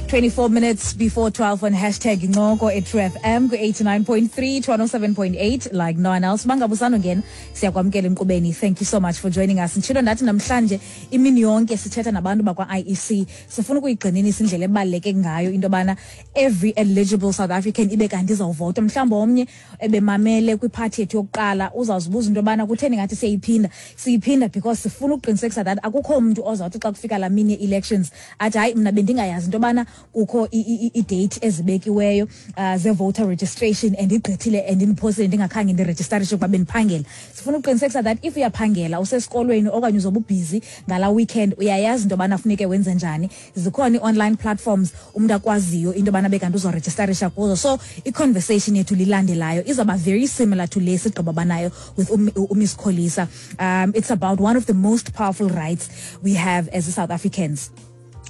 24 minutes before 12 on #Incoko at True FM ku-89.3 to 107.8 like no one else. Bangabusano ngena siyakwamkela enkqubeni. Thank you so much for joining us. Nditshilo ndathi namhlanje imini yonke sithetha nabantu bakwa-IEC. Sifuna ukuyigxininisa indlela ebaluleke ngayo into yobana every eligible South African ibe kanti izawuvota. Mhlawumbi omnye ebemamele kwiphathi yethu yokuqala uzawuzibuza into yobana kutheni ngathi siyayiphinda. Siyiphinda because sifuna ukuqinisekisa that akukho mntu ozawuthi xa kufika laa mini ye-elections athi, "Hayi, mna bendingayazi into yobana kukho i-date ezibekiweyo ze-voter registration and igqithile and indiphosile ndingakhange ndirejistarishe ukuba bendiphangela." Sifuna ukuqinisekisa that if uyaphangela, usesikolweni okanye uzobe ubhizi ngalaa weekend, uyayazi into yobana funeke wenze njani. Zikhona ii-online platforms umntu akwaziyo into yobana bekanti uzorejistarisha kuzo. So i-conversation yethu lilandelayo izawuba very similar to le sigqiba banayo with uMiss Kholisa. It's about one of the most powerful rights we have as South Africans,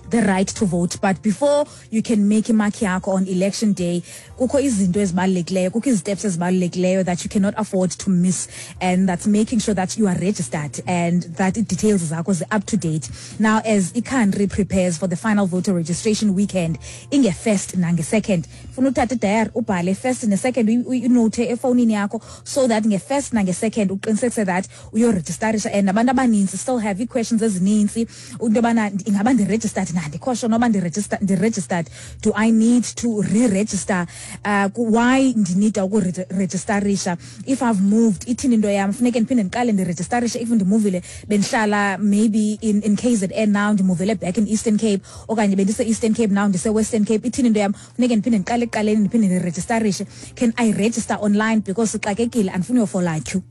the right to vote. But before you can make imark yakho on election day, kukho izinto ezibalulekileyo, kukho izi-steps ezibalulekileyo that you cannot afford to miss, and that's making sure that you are registered and that details zakho zi-up to date. Now, as i-country prepares for the final voter registration weekend inge-first nange-second, funa uthathe idayari ubhale first ne-second, unote efowunini yakho so that nge-first nange-second uqinisekise that uyorejistarisha. And abantu abaninzi still have ii-questions ezininzi into yobana ingaba ndiregistered na, andikho sure noba ndiregistered, do I need to re-register, why ndinida ukurejistarisha if I've moved, ithini into yam, funeke ndiphinde ndiqale ndirejistarishe if ndimuvile, bendihlala maybe in KZN, now ndimuvele back in Eastern Cape, okanye bendise-Eastern Cape, now ndise-Western Cape, ithini into yam, funeke ndiphinde ndiqale ekuqaleni ndiphinde ndirejistarishe? Can I register online because sixakekile, andifuni uyofola queue?